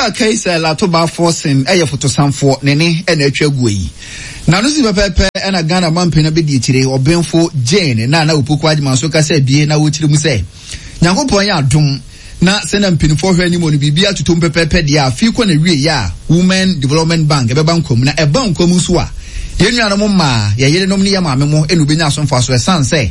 Owura Kaiser Latoba Forson yɛ fotosanfoɔ, ne ne na atwa aguo yi. N'ano si pɛpɛɛpɛ na Ghana manpanin abɛdi akyire, Ɔbenfo Jane Nana Opoku Agyemang nso kasa abie na ɔkyerɛ mu sɛ, Nyankopɔn yɛ adom na sɛnea mpanimfoɔ hwɛ anim no biribi atotom pɛpɛɛpɛ deɛ a, afei kɔ na wieɛ a Women Development Bank ɛbɛba nkwa mu na ɛba nkwa mu nso a, yɛn nuanom mmaa, yɛn yerenom ne yɛn maame mo na wɔbɛnya aso mfasoɔ ɛsiane sɛ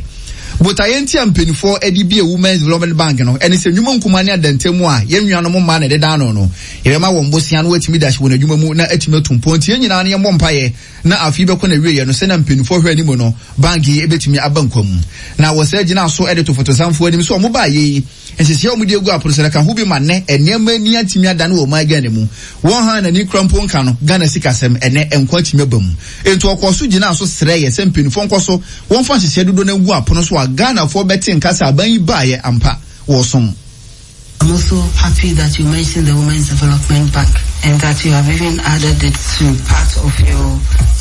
botaeɛ nti a mpanimfoɔ de bue Women's Development Bank no ɛne sɛ nnwuma nkumaa ne adantam a yɛn nuanom mmaa na ɛdeda ano no, yɛbɛma wɔn bosea na wɔatumi de ahyɛ wɔn adwuma mu na atumi atu mpɔn. Nti yɛn nyinaa no yɛmmɔ mpaeɛ na afe yi bɛkɔ n'awieɛ no sɛnea mpanimfoɔ hwɛ anim no, bank yi bɛtumi aba nkwa mu. Na wɔsan gyinaa so de to fotosanfoɔ anim sɛ wɔn baeɛ yi, nhyehyɛeɛ a wɔde agu apono so no ka ho bi ma nnɛ nneɛma ani atumi adane wɔ ɔman Ghana mu. Wɔn hann ani kura mpo nka no, Ghana sikasɛm, ɛnnɛ nkwa atumi aba mu. Enti wɔkɔɔ so gyinaa so srɛeɛ sɛ mpanimfoɔ nkɔ so wɔmfa nhyehyɛeɛ dodoɔ no ngu apono so a Ghanafoɔ bɛte nka sɛ aban yi baeɛ ampa, wɔresom. I'm also happy that you mentioned the Women's Development Bank and that you have even added it to part of your,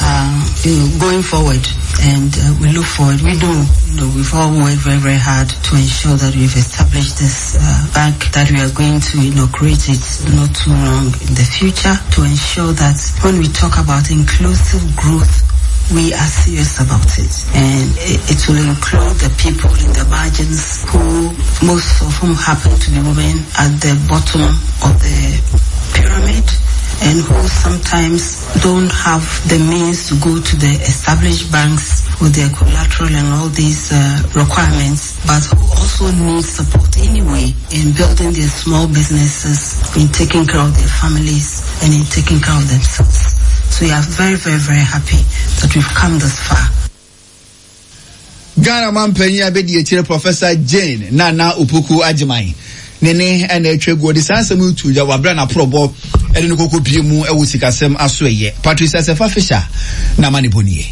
uh, you know, going forward. And uh, we look forward. We do, you know, we've all worked very, very hard to ensure that we've established this uh, bank, that we are going to inaugurate it not too long in the future to ensure that when we talk about inclusive growth, we are serious about it. And it, it will include the people in the margins who, most of whom happen to be women at the bottom of the pyramid and who sometimes don't have the means to go to the established banks with their collateral and all these uh, requirements, but who also need support anyway in building their small businesses, in taking care of their families, and in taking care of themselves. So we are very, very, very happy that we've come this far. Ghana mampanyin abedi akyire Professor Jane Nana Opoku Agyemang ne ne ɛna atwa gu ɔde saa asɛm yi to dwa wɔ abere a n'aporɔbɔ ɛde no kɔkɔ pie mu ɛwɔ sikasɛm aso ɛyɛ Patricia Sefa Fisher na ama ne bɔ nie.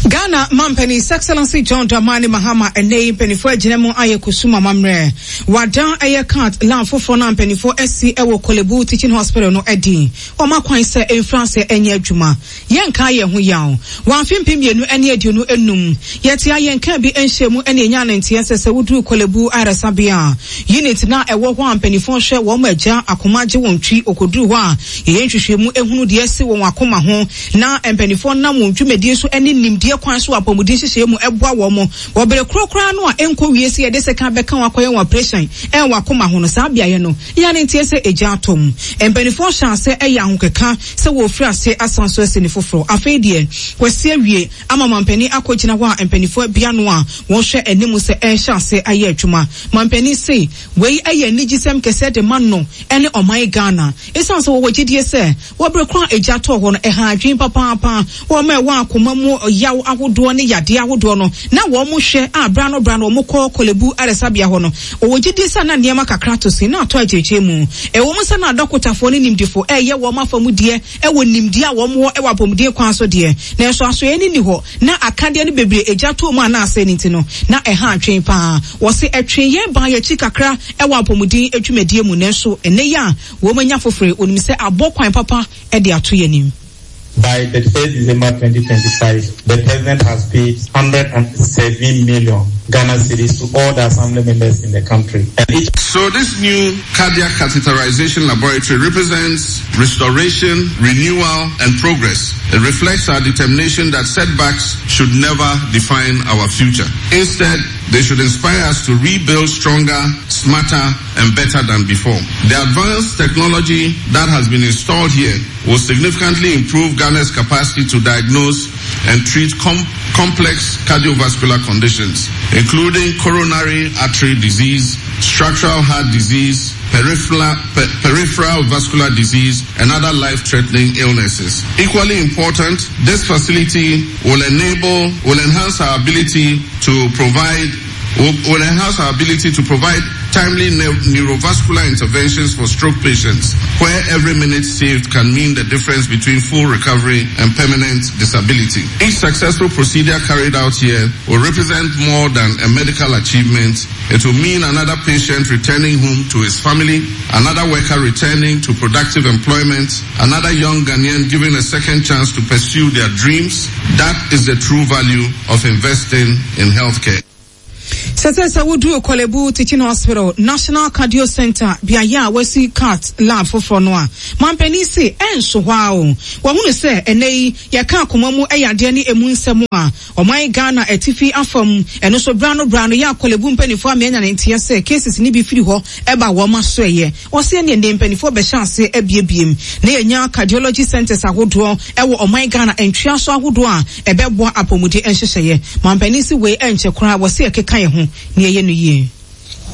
Ghana mampanin His Excellency John Dramani Mahama ɛnɛ yi mpanimfoɔ agyina mu ayɛ kusum amammerɛ. Wadan ɛyɛ cat lab foforɔ no a mpanimfoɔ asi ɛwɔ Korle-Bu Teaching Hospital no adi. Wɔma kwan sɛ ɛmfiri aseɛ ɛnyɛ adwuma. Yɛnkaa yɛn ho yaw. Wɔ afe 2025, yɛte a yɛnkaa bi nhyɛɛ mu na yɛnyaa no nteɛ sɛ sɛ woduru Korle Bu ayaresabea a, unit no a ɛwɔ hɔ a mpaninfoɔ hwɛ wɔn ma agya akoma gye wɔn twi, wɔkɔduru hɔ a yɛyɛ nhwehwɛmu hunu deɛ asi wɔn akoma ho na mpaninfoɔ nam wɔn dwumadie so ne nimdeɛ kwan so wɔ apɔmuden nhyehyɛeɛ mu boa wɔn wɔ bere korɔ koraa no a ɛnkɔ wie sɛ yɛde sekan bɛka wɔn akɔyɛ wɔn aprehyɛn wɔ akoma ho no, saa beaeɛ no yɛa no nteɛ sɛ egya atɔ mu. Mpaninfoɔ hyɛ aseɛ yɛ ahokeka sɛ wɔrefiri aseɛ asan so asi no foforɔ. Afei deɛ, wɔasi awie ama mampanin akɔgyina hɔ a mpanimfoɔ abue ano a wɔhwɛ anim sɛ ɛrehyɛ aseɛ ayɛ adwuma. Mampanin se wei yɛ anigyesɛm kɛseɛ de ma no ne ɔman Ghana. Esiane sɛ wɔwɔ gyedie sɛ wɔ bere ko a egya tɔɔ hɔ no ɛhaa adwene papaapa, wɔn a ɛwɔ akoma mu yaw ahodoɔ ne yadeɛ ahodoɔ no na wɔhwɛ a berɛ ano berɛ ano wɔkɔ Korle-Bu ayaresabea hɔ no, Wɔwɔ gyedie sɛ na nneɛma kakra tɔ sin na atɔ akyirikyiri mu. Ɛwɔ mu sɛ na adɔkotafoɔ ne nimdefo reyɛ wɔn afa mu deɛ wɔ nimdeɛ a wɔn wɔ wɔ apɔmuden kwan so deɛ, nanso asoɛeɛ no nni hɔ, na akadeɛ no bebree agya tɔɔ mu a na asɛe no nti no, na ɛha adwene pa ara. Wɔse ɛtwee yɛn baa yɛn akyi kakra wɔ apɔmuden dwumadie mu, nanso ɛnnɛ yi a wɔanya foforɔ yi, wɔnim sɛ abɔ kwan papa de ato yɛn anim. By 31st December 2025, the president has paid 107 million Ghana cedis to all the assembly members in the country. And each so this new cardiac catheterization laboratory represents restoration, renewal, and progress. It reflects our determination that setbacks should never define our future. Instead, they should inspire us to rebuild stronger, smarter, and better than before. The advanced technology that has been installed here will significantly improve Ghana's capacity to diagnose and treat com- complex cardiovascular conditions, including coronary artery disease, structural heart disease, peripheral, per- peripheral vascular disease, and other life-threatening illnesses. Equally important, this facility will enable, will enhance our ability to provide will, will enhance our ability to provide timely neurovascular interventions for stroke patients, where every minute saved can mean the difference between full recovery and permanent disability. Each successful procedure carried out here will represent more than a medical achievement. It will mean another patient returning home to his family, another worker returning to productive employment, another young Ghanaian given a second chance to pursue their dreams. That is the true value of investing in healthcare. Sɛsɛ sɛ woduu Korle Bu Teaching Hospital, National Cardio Centre, beaeɛ a wɔasi cath lab foforɔ no a, mampanin se ɛnso hɔ ara o. Wahunu sɛ ɛnnɛ yi yɛka akoma mu yadeɛ ne ɛmu nsɛm a, ɔman Ghana atifi afam, ɛno nso berɛ ano berɛ ano yɛ a Korle Bu mpaninfoɔ ama yɛanya ne nteɛ sɛ cases no bi firi hɔ ba wɔn asoɛeɛ. Ɔse ɛneɛ nnɛ mpaninfoɔ bɛhyɛ aseɛ abiebiem na yɛanya cardiology centres ahodoɔ wɔ ɔman Ghana ntweaso ahodoɔ a ɛbɛboa apɔmuden nhyehyɛeɛ. Mampanin se wei ɛnkyɛ koraa wɔse yɛkeka yɛn ho na yɛyɛ no yie.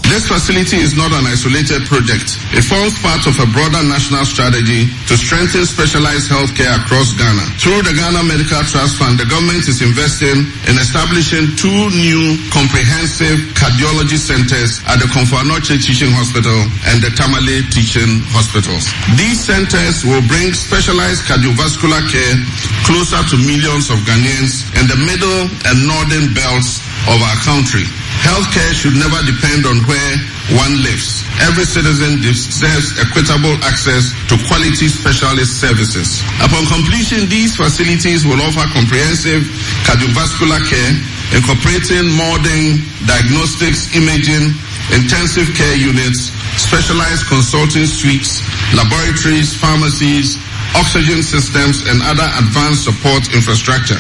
This facility is not an isolated project. It forms part of a broader national strategy to strengthen specialized healthcare across Ghana. Through the Ghana Medical Trust Fund, the government is investing in establishing two new comprehensive cardiology centers at the Komfo Anokye Teaching Hospital and the Tamale Teaching Hospitals. These centers will bring specialized cardiovascular care closer to millions of Ghanaians in the middle and northern belts of our country. Healthcare should never depend on where one lives. Every citizen deserves equitable access to quality specialist services. Upon completion, these facilities will offer comprehensive cardiovascular care, incorporating modern diagnostics, imaging, intensive care units, specialized consulting suites, laboratories, pharmacies, oxygen systems, and other advanced support infrastructure.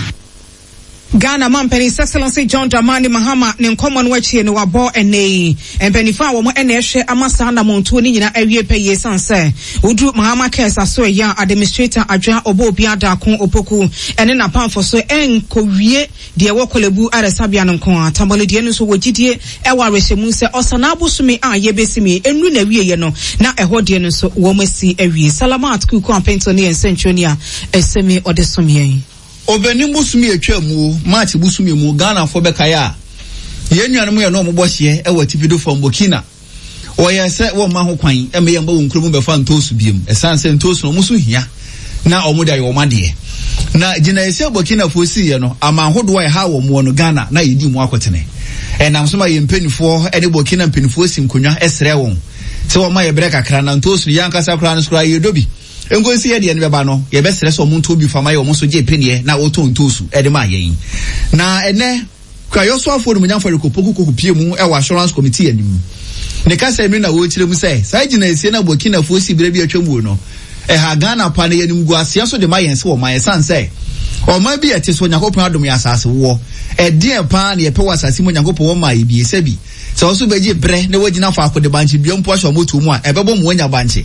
Ghana Mampanin His Excellency John Dramani Mahama ne nkɔmmɔ no akyi no wabɔ ɛnnɛ yi mpaninfoɔ a wɔn na ɛhwɛ ama saa anamontuo no nyinaa awie pɛ yie sane sɛ woduru Mahama Cares asoɛeɛ a Administrator Adwoa Oboobia Darko Opoku ne n'apamfo so ɛnkɔwie deɛ ɛwɔ Korle-Bu ayaresabea no nko ara. Tamale deɛ no nso wɔ gyidie wɔ awerɛhyɛmu sɛ Ɔsanaa bosome a yɛbɛsim yi nnuru n'awieɛ no na ɛhɔ deɛ no nso wɔn asi awie. Salamat Kuku Ampento ne yɛn nsɛntwerɛni a ɛsɛm yi ɔde som yɛn. Ɔbɛnem bosome a ɛtwaa mu o, March bosome mu, Ghanafoɔ bɛkae a, yɛn nuanom yɛne wɔn bɔ hyeɛ wɔ atifido fam, Burkina. Wɔyɛɛ sɛ wɔmma ho kwan mma yɛmma wɔn kuro mu bɛfa ntoosu biom, ɛsiane sɛ ntoosu no wɔn so hia na wɔde ayɛ wɔn adeɛ. Na gyinaeɛsi a Burkinafoɔ siiɛ no, aman hodoɔ a ɛha wɔn wɔ no, Ghana na yɛdi mu akotene. Ɛnam so ma yɛn mpanimfoɔ ne Burkina mpanimfoɔ si nkonnwa srɛ wɔn sɛ wɔmma yɛ berɛ kakra na ntoosu no yɛn ankasa koraa no so koraa yɛdɔ bi. Nkosi yɛ deɛ no bɛba no, yɛbɛsrɛ sɛ wɔn ntɔ bi fa ma yɛ wɔn nso gye peneɛ na wɔtɔn ntoosu de maa yɛn. Na ɛnɛ, Kuayɔ soafoɔ Onimonyamfoɔ Eric Opoku kɔ kɔpie mu wɔ Assurance Committee anim. Ne kasa mu no na ɔrekyerɛ mu sɛ, saa gyinaesie no a Burkinafoɔ sii berɛ bi a atwam wuo no, ɛha Ghana paa na ɛyɛ animguaseɛ nso de ma yɛn sɛ ɔman ɛsiane sɛ ɔman bi a ɛte so Onyankopɔn adom yɛn asase woɔ. Ɛdeɛn paa na yɛpɛ wɔ asase mu Onyankopɔn wɔ maa yɛ bi? Sɛbi. Sɛ wo nso wobɛgye berɛ na woagyina faako de bankye dua mpo ahyɛ wo motoɔ mu a, ɛbɛbɔ ma woanya bankye.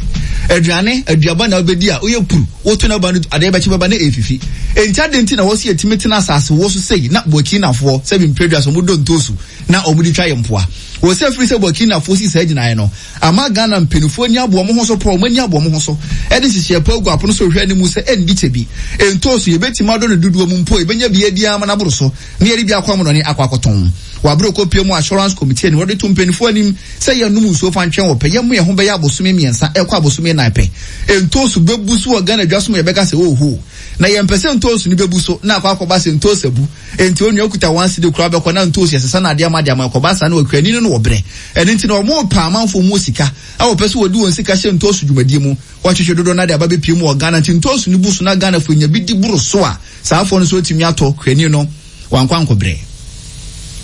Aduane, aduaba na wobɛdi a, woyɛ puru, woto n'aba no adeɛ bɛkye bɛba na ɛrefifi. Enti adɛn nti na ɛwɔ sɛ yɛtumi tena asase wɔ so sei na Burkinafoɔ, sɛbi mprɛdua so, wɔdɔ ntoosu na wɔde twa yɛn mpoa? Wɔ sɛ ɛfiri sɛ Burkinafoɔ sii saa gyinaeɛ no, ama Ghana mpanimfoɔ ani abɔ wɔn ho so paa, wɔn ani abɔ wɔn ho so de nhyehyɛeɛ pa agu apono so rehwɛ anim sɛ ɛnndi kyɛ bi, ntoosu, yɛbɛtumi adɔ no dodoɔ mu mpo, yɛbɛnya bi adi ara ma no aboro so. na yɛde bi akɔ amonɔne akɔ akɔtɔn. Wɔ abere ɔkɔpie mu Assurance Committee anim, wɔde to mpanyinfoɔ anim sɛ yɛnnom nsuo fa ntwɛn wɔ pɛ, yɛmmo yɛn ho bɛyɛ abosome mmiɛnsa ɛkɔ abosome nnan pɛ. Ntoosu bɛbu so wɔ Ghana dwa so ma yɛbɛka sɛ oohoo. Na yɛmpɛ sɛ ntoosu no bɛbu so na akɔ akɔba sɛ ntoosu abu. Enti onua okuta one cedi koraa bɛkɔ na ntoosu yɛsesa no adeɛ ama de ama ɛkɔba saa na okuani no no wɔ brɛ. Ɛno nti na wɔrepɛ amanfoɔ mu sika a wɔpɛ sɛ wɔde wɔn sika hyɛ ntoosu dwumadie mu. Wɔatwetwe dodoɔ no ara de aba bɛpie mu wɔ Ghana nti ntoosu no bu so na Ghanafoɔ nya bi di boro so a, Saa afɔ no nso atumi atɔ kuani no, wankɔ ankɔbrɛ.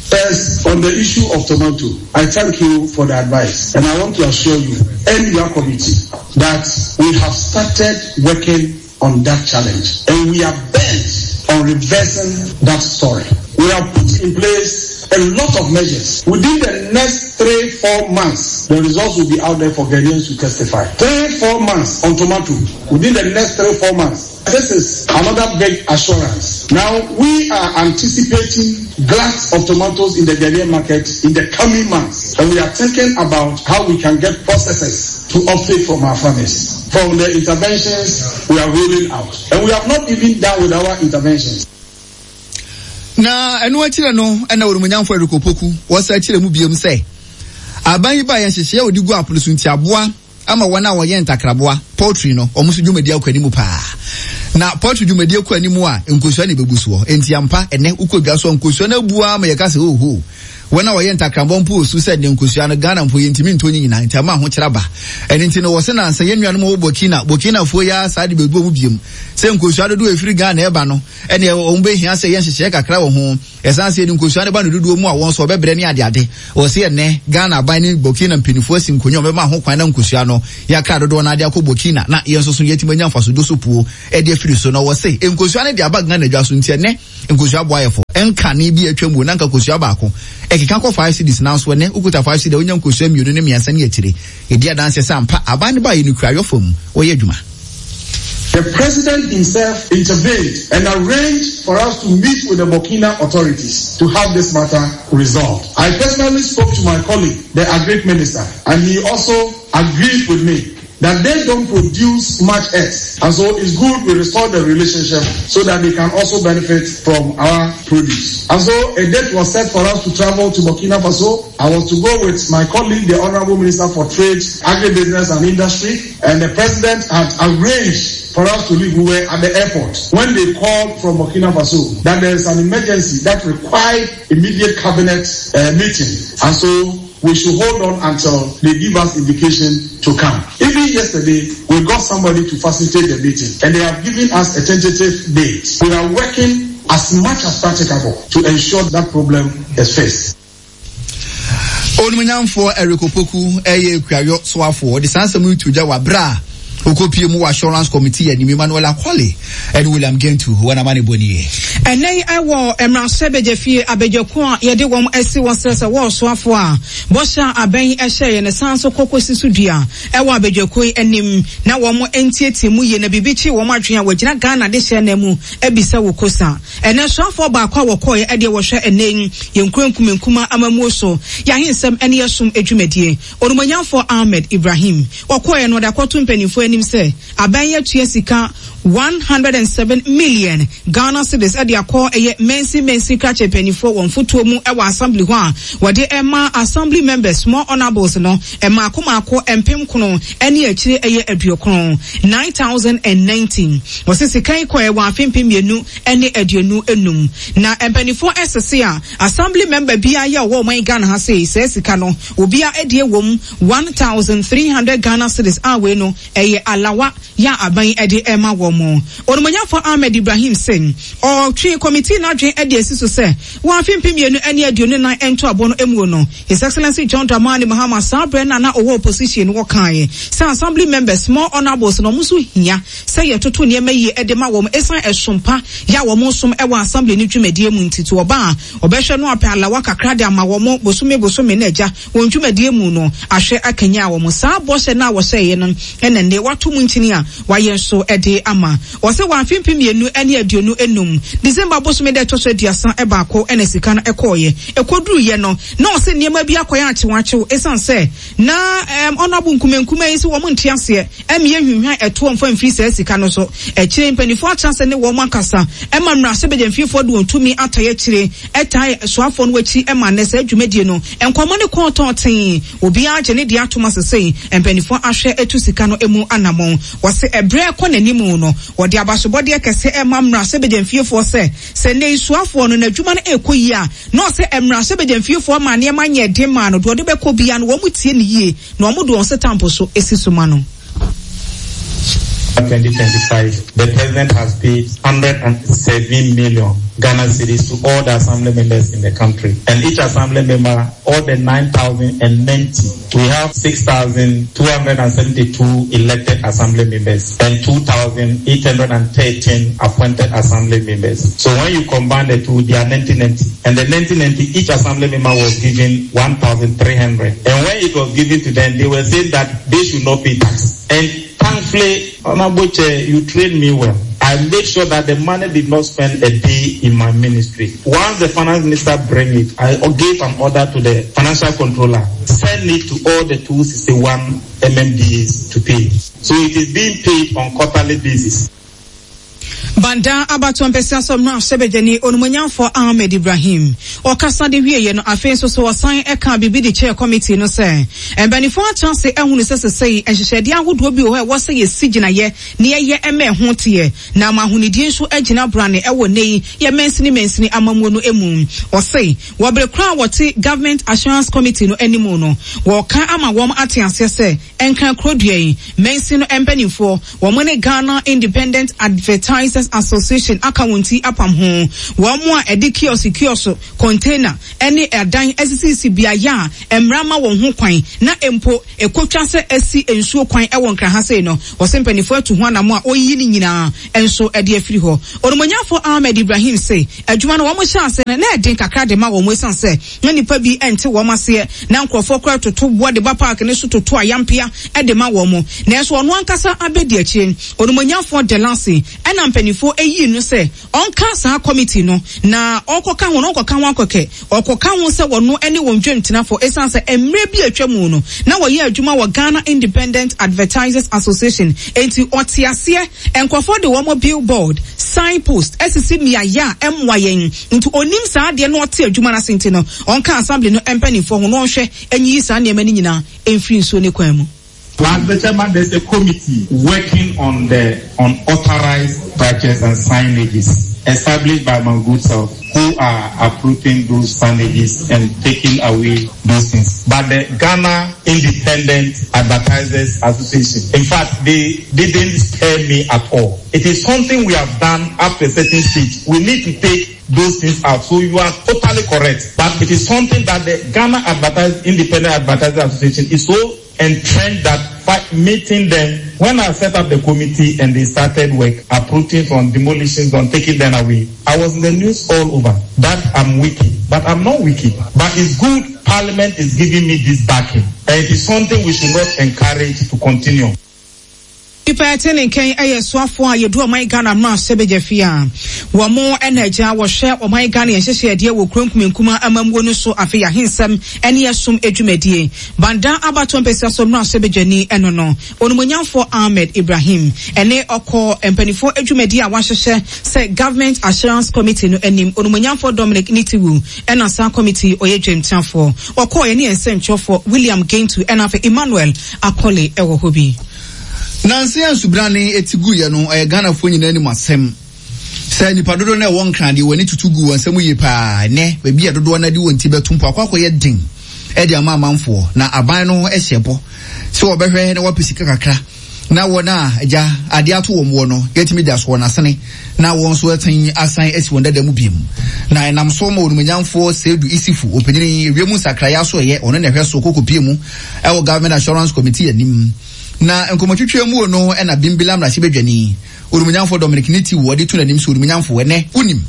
First, on the issue of tomato, I thank you for the advice and I want to assure you and your committee that we have started working on that challenge and we are bent on reversing that story. We have put in place a lot of measures. Within the next 3, 4 months, the results will be out there for Ghanaians to testify. 3, 4 months on tomato. Within the next 3, 4 months. This is another big assurance. Now, we are anticipating glut of tomatoes in the Ghanaian market in the coming months. And we are thinking about how we can get processors to offtake from our farmers. From the interventions we are rolling out. And we have not even done with our interventions. Na ɛno akyire no na Onimonyamfo Eric Opoku wɔsa kyerɛ mu biom sɛ aban yi baeɛ nhyehyɛeɛ a wɔde gu apono so nti aboa ama wɔn a wɔyɛ ntakraboa, poultry, no, wɔn nso dwumadi akɔ anim paa. Na poultry dwumadi kɔ anim a, nkosua na ɛbɛbu soɔ. Enti ampa, ɛnnɛ wokɔ dwa so a, nkosua no abu ara ma yɛka sɛ, oho! Wɔn a wɔyɛ ntakrambɔ mpo wɔ su sɛ nnɛ nkosua no Ghana mpo yɛntumi ntɔ ne nyinaa nti ama ahokyere aba. Ɛno nti no wɔse nansa yɛn nuanom a wɔwɔ Burkina, Burkinafoɔ yi ara saa de bɛgu wɔn biom sɛ nkosua dodoɔ a ɛfiri Ghana ɛba no ɛneɛ wɔn bɛhia sɛ yɛ nhyehyɛeɛ kakra wɔ ho. Ɛsan sɛ yɛde nkosua no ba no dodoɔ mu a wɔn nso wɔbɛbrɛ ne adeade. Wɔse ɛnnɛ Ghana aban ne Burkina mpaninfoɔ asi nkonnwa a wɔbɛma ho kwan na nkosua no yɛakra dodoɔ no ara de akɔ Burkina na yɛn nso so yɛatumi anya mfasodo so puo de afiri so. Na wɔse nkosua no de aba Ghana dwa so nti ɛnnɛ Nkosua boa yɛ fo. Nkane bi a atwam o, na anka kosua baako ɛkeka kɔ 5 cedis nanso ɛnnɛ wokuta 5 cedi a wonya nkosua mmienu ne mmiɛnsa ne akyire. Ɛdi adanseɛ sɛ ampa aban no baeɛ no kuayɔ fam wɔyɛ adwuma. The president himself intervened and arranged for us to meet with the Burkina authorities to have this matter resolved. I personally spoke to my colleague, the Agric Minister, and he also agreed with me that they don't produce much eggs. And so it's good we restore the relationship so that they can also benefit from our produce. And so a date was set for us to travel to Burkina Faso. I was to go with my colleague, the Honorable Minister for Trade, Agribusiness and Industry, and the President had arranged for us to leave. We were at the airport when they called from Burkina Faso that there is an emergency that required immediate cabinet uh, meeting. And so we should hold on until they give us indication to come. Even yesterday, we got somebody to facilitate the meeting, and they have given us a tentative date. We are working as much as practicable to ensure that problem is fixed. Onimuonyamfoɔ Eric Opoku yɛ Kuayɔ soafoɔ. Ɔde saa nsɛm yi to dwa wɔ abere a ɔkɔpie mu wɔ Assurance Committee anim. Emmanuel Akwale ne William Gentu wɔn amanebɔ nie. Ɛnnɛ yi wɔ mmarahyɛbadwafie abadwakuo a yɛde wɔn asi hɔ sɛ sɛ wɔresoafoɔ a bɔhyɛ a abɛn yi hyɛeɛ no san nso kɔ kɔsi so dua wɔ abadwakuo yi anim na wɔn ntiatia mu yie na biribi kye wɔn adwene a wɔagyina Ghana adehyeɛ nan mu abisa wɔ kosa. Ɛnnɛ soafoɔ baako a wɔkɔeɛ ɛdeɛ wɔhwɛ ɛnnɛ yi yɛn nkuro nkumankuma amammuo so, yɛn ahensɛm ne yɛn som dwumadie. Onumonyamfoɔ Ahmed Ibrahim. Wɔkɔeɛ no wɔde akɔto mpanimfoɔ anim sɛ aban yi atua sika 107 million Ghana cedis de akɔ ɛyɛ mansin mansin krakye mpanimfoɔ wɔn fotoɔ mu wɔ assembly hɔ a wɔde rema assembly members more honourables no mmaako mmaako mpem kono ne akyire ɛyɛ aduokron, 9019. Wɔse sika yi kɔɛ wɔ afe 2025 na mpanimfoɔ ɛsese a assembly member biara yɛ ɔwɔ ɔman Ghana ha sei saa sika no obia ɛdeɛ wɔm 1300 Ghana cedis a wei no ɛyɛ alawa yɛ a aban de rema wɔn. Onumonyafo Ahmed Ibrahim se ɔtwee kɔmitii no adwene de asi so sɛ wɔ afe 2024 ntoabɔ no muo no, His Excellency John Dramani Mahama saa berɛ no a na ɔwɔ opposition no ɔkaeɛ sɛ Assembly members, more honourables no wɔn nso hia sɛ yɛtoto nneɛma yie de ma wɔn ɛsiane ɛsom pa yɛ a wɔn som wɔ Assembly no dwumadie mu nti to ɔba a ɔbɛhwɛ no apɛ alawa kakra de ama wɔn bosome bosome na agya Wɔn dwumadie mu no, ahwɛ akanyan wɔn. Saa bɔhyɛ no a wɔhyɛeɛ no na nnɛ wɔato mu nkyini a wɔayɛ nso de ama. Wɔse wɔ afe 2025 December bosome da ɛtɔ so 31 na sika no kɔeɛ. Ɛkɔduruiɛ no, na ɔse nneɛma bi akɔyɛ akyewakyew ɛsiane sɛ na Honourable Nkumankumah yi se wɔn nte aseɛ mmea nhwinhwan ɛtoɔ mfa mfiri saa sika no so. Akyire yi mpaninfoɔ atra ase ne wɔn akasa ma mmarahyɛbadwamfiefoɔ de wɔn tumi atae akyire tae soafoɔ no akyi ma nnɛ saa dwumadie no nkɔmmɔ no kɔɔ tɔɔ tee. Obiara gye ne deɛ atom ase sei mpaninfoɔ ahwɛ atu sika no mu anamɔn. Wɔse ɛberɛ rekɔ n'anim no wɔde abasobɔdeɛ kɛse rema mmarahyɛbadwamfiefoɔ sɛ sɛ nnɛ yi soafoɔ no n'adwuma no rekɔ yie a na ɔsɛ mmarahyɛbadwamfiefoɔ ma nneɛma nyɛ den maa no deɛ ɔde bɛkɔ biara no wɔn tie no yie Na wɔde wɔn setampo so si so ma no. 2025, the president has paid 107 million Ghana cedis to all the assembly members in the country. And each assembly member, all the 9,090, we have 6,272 elected assembly members and 2,813 appointed assembly members. So when you combine the two, they are 1990. And the 1990, each assembly member was given 1,300. And when it was given to them, they were saying that they should not pay tax. And thankfully, Honorable Chair, you trained me well. I made sure that the money did not spend a day in my ministry. Once the finance minister bring it, I gave an order to the financial controller, send it to all the 261 MMDAs to pay. So it is being paid on quarterly basis. Banda abatoɔ mpɛsua so mmarahyɛbadwani Onumonyamfoɔ Ahmed Ibrahim. Ɔkasa de wieeɛ no, afei nso so ɔsan kaa biribi de kyerɛɛ kɔmitii no sɛ, Mpanimfoɔ atena ase ahunu sɛ sesei nhyehyɛdeɛ ahodoɔ bi wɔ hɔ a ɛwɔ sɛ yɛsi gyinaeɛ na yɛyɛ ma ɛho teɛ na ama ahonidie nso agyina brane wɔ nnɛ yi yɛ mansini mansini amammuo no mu. Ɔse, wɔ bere korɔ a wɔte Government Assurance Committee no anim no, wɔreka ama wɔn ate aseɛ sɛ Nkran kuro dua yi mansin no mpanimfoɔ, wɔn ne Ghana Independent Advertisers Association aka wɔn ti apam ho. Wɔn a ɛde kiɔso kiɔso, container, ne adan asisisisi beaeɛ a mmara ma wɔn ho kwan na mpo ɛkɔtwa sɛ asi nsuo kwan wɔ Nkran ha sei no, wɔse mpanimfoɔ atu ho anamɔ a wɔreyiyi ne nyinaa nso de afiri hɔ. Onimonyamfoɔ Ahmed Ibrahim se adwuma no wɔn hyɛɛ aseɛ no na ɛden kakra de ma wɔn ɛsiane sɛ na nnipa bi nte wɔn aseɛ, na nkurɔfoɔ koraa toto boɔ de ba paake no so toto ayampea de ma wɔn. Nanso ɔno ankasa abɛdi akyire. Onimonyamfoɔ Delasi na mpanimfoɔ yii no sɛ ɔnka saa kɔmiti no, na ɔrekɔka ho no, ɔnkɔka ho akɔkɛ, ɔrekɔka ho sɛ ɔno ne wɔn dwamtenafoɔ ɛsiane sɛ mmerɛ bi a atwa mu no, na wɔyɛ adwuma wɔ Ghana Independent Advertisers Association, enti ɔte aseɛ. Nkurɔfoɔ de wɔn billboard, sign post, asisi mmeaeɛ a ɛmmoa yɛn. Nti ɔnim saa adeɛ na ɔte adwuma no ase nti no, ɔnka assembly no mpaninfoɔ ho na ɔnhwɛ nyiyi saa nneɛma no nyinaa mfiri nsuo no kwan mu. Plus the chairman, there's a committee working on the unauthorized structures and signages established by my good self who are uprooting those signages and taking away those things. But the Ghana Independent Advertisers Association, in fact, they didn't spare me at all. It is something we have done up to a certain stage. We need to take those things out. So you are totally correct. But it is something that the Ghana Advertising Independent Advertising Association is so entrenched that meeting them, when I set up the committee and they started work, uprooting on demolitions, on taking them away, I was in the news all over that I'm wicked. But I'm not wicked. But it's good Parliament is giving me this backing. And it is something we should not encourage to continue. Nnipa a ɛte ne nkan yɛ soafoɔ a yɛdu ɔman Ghana mmarahyɛbadwa fie a wɔn na agya wɔhwɛ ɔman Ghana yɛn nhyehyɛeɛdeɛ wɔ kuro nkumankuma amammuo no so afei ahensɛm ne ɛsom dwumadie. Banda abatoɔ mpɛsua so mmarahyɛbadwani ɛno no Onimonyamfoɔ Ahmed Ibrahim ɛne ɔkɔ mpaninfoɔ dwumadie a wɔahyehyɛ sɛ Government Assurance Committee no anim Onimonyamfoɔ Dominic Nitiwu ɛna saa committee yi ɔyɛ dwamtiafoɔ. Ɔkɔɔ yɛne yɛn nsɛntwerɛfoɔ William Gentu ɛna afei Emmanuel Akole ɛwɔ hɔ bi. Nansa yi a nsubrane ti guiɛ no, ɛyɛ Ghanafoɔ nyinaa anim asɛm sɛ nnipa dodoɔ no a ɛwɔ Nkran deɛ wɔn ani tutu gu wɔn nsam yie paa. Ɛnnɛ, baabi a dodoɔ no de wɔn ti bɛto mpo akɔ akɔyɛ den de ama amanfoɔ, na aban no hyɛ bɔ sɛ wɔbɛhwɛ na wɔapɛ sika kakra na wɔn a agya adeɛ ato wɔn wɔ no yɛatumi de aso wɔn asene na wɔn nso atumi asan asi wɔn dada mu biom. Na ɛnam so ma onimonyamfoɔ Seidu Issifu, ɔpanyin ewiem nsakraeɛ asoɛeɛ, ɔno na ɛhwɛ so kɔkɔpie mu ɛwɔ Government Assurance Committee anim. Na nkɔmmɔtwetwe mu no na Bimbila mmarahyɛbadwani, Onimonyamfoɔ Dominic Nitiwu ɔde to n'anim sɛ, Onimonyamfoɔ, ɛnnɛ wonim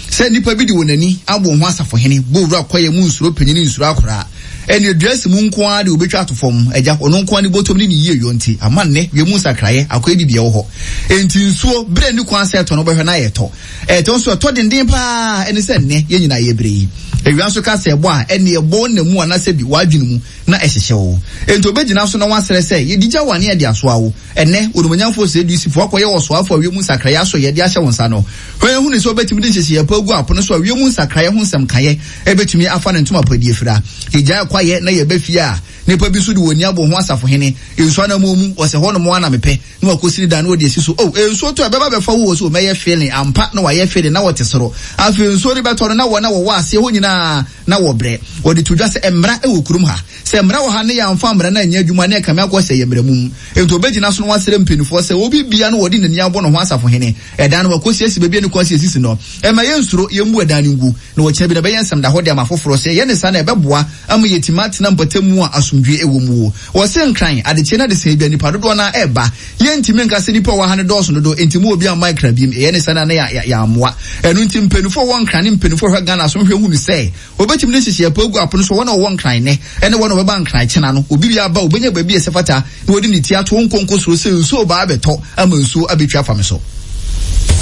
sɛ nnipa bi de wɔn ani abɔ wɔn ho asafohene, bɔ wura kwaeɛ mu nsuro panin nsuro akoraa, ɛnneɛ dua si mu nko ara deɛ wɔbɛtwa ato fam, agya, ɔno nko ara ne bɔtɔm ne ne yieyɔ nti, ama nnɛ wiem nsakraeɛ akɔyɛ biribi a ɛwɔ hɔ. Enti nsuo, berɛ nni kwan sɛ ɛtɔ no wobɛhwɛ na ɛretɔ. Ɛtɔ nso ɛtɔ denden paa, ɛne sɛ nnɛ yɛn nyinaa yɛbrɛ yi. Awia nso ka sɛ ɛbɔ a, ɛnneɛ ɛbɔ wo nna mu anaasɛ bi w'adwene mu. na ɛhyehyɛ wo. Enti obegyina so na wasrɛ sɛ, Yedi gya wo ane yɛde asoa wo. Ɛnnɛ, Onimonyamfo Oseduisifo akɔyɛ ɔsoafo a wiem nsakrae asɔyɛ de ahyɛ wo nsa no. Hwɛ hu no sɛ obetumi de nhyehyɛe pa agu apono so a wiem nsakrae ho nsɛm kaeɛ betumi afa ne ntoma pa adi afira. Yegyae kwaeɛ na yɛba fie a, nnipa bi nso de wɔn ani abɔ ho asafohene. Nsu anammɔn mu, ɔsɛ hɔnom ara na mepɛ. Na wakɔsi ne dan na ɔde asi so. Oh, nsuo tɔ a, ɛbɛba abɛfa wo wɔ so. Mɛyɛ feeling. Ampa, na wayɛ feeling, na wɔte soro. Afei nsuo no bɛtɔ no, na wɔn a wɔwɔ aseɛ hɔ nyinaa, na wɔbrɛ. Wɔde to dwa sɛ mmara wɔ kurom ha. Sɛ mmara wɔ ha na yɛamfa mmara no anyɛ adwuma a, na ɛkame akɔ sɛ ɛyɛ mmara mum. Enti wɔbɛgyina so na wɔasrɛ mpanimfoɔ sɛ obi biara na wɔde n'ani abɔ ne ho asafohene. Ɛdan no, wɔakɔsiesie baabi a ne kwan si asisi no. Mma yɛnsuro, yɛmmu ɛdan no ngu, na ɔkyena bi no ɛbɛyɛ nsɛmdahɔ de ama afoforɔ. Sɛ yɛyɛ no saa no a, ɛbɛboa ama yɛatumi atena mpɔtam a asomdwoeɛ wɔ mu. Wɔse Nkran, adekyeɛ ne adesaeɛ biara nnipa dodoɔ no ara reba. Yɛntumi nka sɛ nnipa a wɔwɔ ha no dɔɔso dodo, enti mma obiara mma Nkran biom. Yɛyɛ no saa no a na yɛammoa. Ɛno nti mpaninfoɔ a wɔwɔ Nkran ne mpaninfoɔ a wɔhwɛ Ghana so nhwɛ hunu sɛ wɔbɛtumi de nhyehyɛeɛ pa agu apono so wɔn a wɔwɔ Nkran nnɛ ne wɔn a wɔbɛba Nkran kyena no. Obi biara ba a, ɔbɛnya baabi a ɛsɛ fata na ɔde ne ti ato ɔnkɔ nkɔsuro sɛ nsuo reba abɛtɔ ama nsuo abɛtwi afa me so.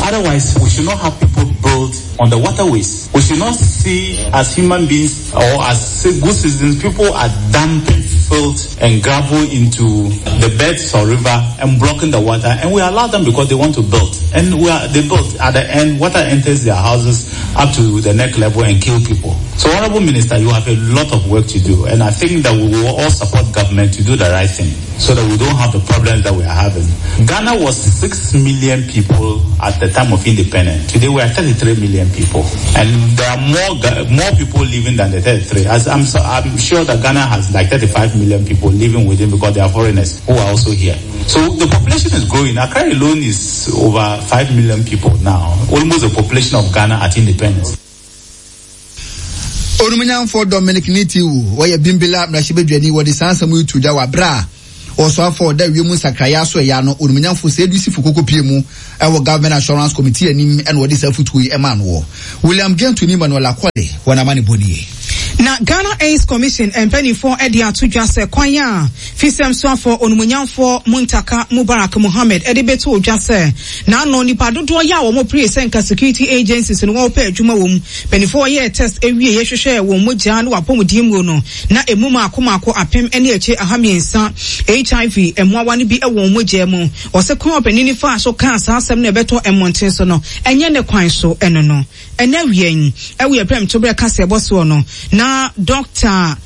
Otherwise, we should not have people build on the waterways. We should not see as human beings or as good citizens, people are dumping. filth and gravel into the beds or river and blocking the water. And we allow them because they want to build. And we are, they build. At the end, water enters their houses up to the neck level and kill people. So, Honorable Minister, you have a lot of work to do. And I think that we will all support government to do the right thing so that we don't have the problems that we are having. Ghana was 6 million people at the time of independence. Today we are 33 million people. And there are more, more people living than the 33. As I'm, so, I'm sure that Ghana has like 35 million people living within because there are foreigners who are also here. So the population is growing. Accra alone is over 5 million people now, almost the population of Ghana at independence. Onumnyamfoɔ Dominic Nitiwu, ɔyɛ Bimbilla mmarahyɛbadwani, wɔde saa nsɛm yi to dwa wɔ aberɛ a ɔsoafoɔ a ɔda wiem nsakraeɛ asoɛeɛ ano, Onumnyamfoɔ Seidu Sifu Koko pie mu wɔ Government Assurance Committee anim na ɔde saa afutuo yi maa no wɔ William Gentu ne Emmanuel Akole wɔn amanebɔ nie. Na Ghana AIDS Commission mpaninfoɔ de ato dwa sɛ kwan a Fisɛm soafoɔ Onumunyamfoɔ Muntaka Mubarak Mohammed de bɛtoo dwa sɛ n'ano nnipa dodoɔ yɛ a wɔn peree sɛ nka security agencies no wɔpɛ adwuma wɔ mu mpaninfoɔ yɛɛ test wieɛ hwehwɛɛ wɔn mogyaa ne wɔn apɔmuden muo no na ɛmu maako maako apem ne akyire ahamiensa HIV mmoawa no bi wɔ wɔn mogyaa mu. Ɔse kwan a ɔpanin no faa so kaa saa asɛm no a ɛbɛtɔ mmɔnten so no ɛnyɛ ne kwan so ɛno no. Ɛnnɛ awia yi, ɛwɔ yɛn prɛmtoberɛ kaseɛbɔ soɔ no, na Dɔkta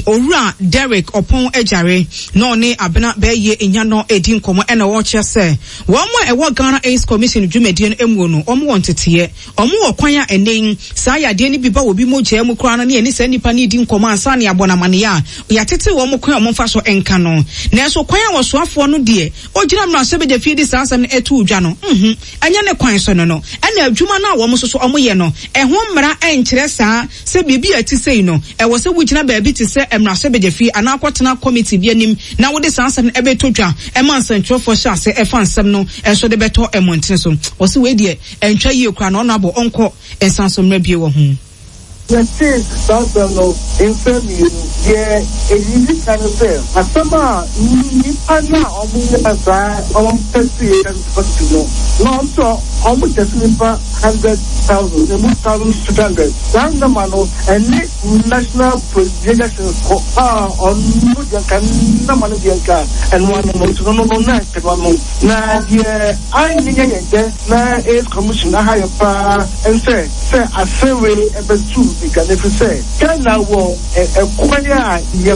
Owura Derrick Ɔpɔn Agyare na ɔne Abena Bɛɛyie Nyanɔ redi nkɔmmɔ ɛna ɔrekyerɛ sɛ wɔn a ɛwɔ Ghana AIDS Commission dwumadie no muo no, wɔn wɔ nteteɛ, wɔn wɔ kwan a ɛnnɛ yi saa yadeɛ no bi ba obi mogyaa mu koraa no ne yɛne saa nipa no redi nkɔmmɔ ansa na yɛabɔ no amaneɛ a, yɛatete wɔn kwan a wɔmfa so nka no. Nanso kwan a ɔsoafoɔ no deɛ ɔgyina mmarahyɛbadwafie de saa asɛm no too dwa no, nhu. Ɛnyɛ ne kwan so no no, ɛna adwuma no a wɔn nso so wɔyɛ no, ɛho mmara nkyerɛ saa sɛ biribi a ɛte sei no, ɛwɔ sɛ wogyina baabi te sɛ mmarahyɛbadwafie anaa kɔtena kɔmiti bi anim na wode saa asɛm no bɛtɔ dwa ma nsɛntwerɛfoɔ hyɛ ase fa nsɛm no nso de bɛtɔ mmɔntene so. Wɔse wei deɛ ɛntwa yie koraa na ɔno abɔ ɔnkɔ nsan so mmra bio wɔ ho. Yɛtee saa asɛm no mfɛ mmienu. Deɛ ɛdidi kan ne sɛ, asɛm a nnipa no a wɔyɛɛ saa wɔn tɛstee positive no, na wɔn nso wɔn tɛste nnipa 100,000, emu 1,200. Saa nɔma no, ɛne national projections kɔ a ɔno deɛ nka nɔma no deɛ nka ɛno ano no, nti no no no na nka ɛno ano. Na deɛ anyɛ yɛn dɛ na AIDS Commission aha yɛ paa nsɛ sɛ asɛm wei bɛto dwa no ɛfiri sɛ Ghana wɔ ɛkwan a yɛ.